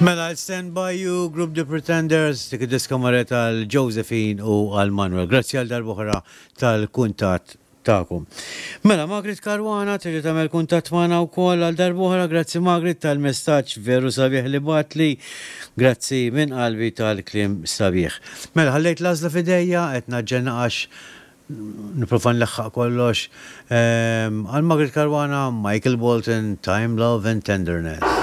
Mela, I'll Stand By You, Group The Pretenders, dik id-diska marret għal Josephine u għal Manuel. Grazzi għal darb'oħra tal-kuntatt tagħkom. Mela, Margaret Caruana terġa' tagħmel kuntatt magħna wkoll għal darb'oħra. Grazzi Margaret tal-messaġġ veru sabiħ li bagħtli. Grazzi minn qalbi tal-kliem sabiħ. Mela, ħallejt l-għażla f'idejja, qed naġġel naqax nipprova nleħħaq kollox. Għal Margaret Caruana, Michael Bolton, Time, Love and Tenderness.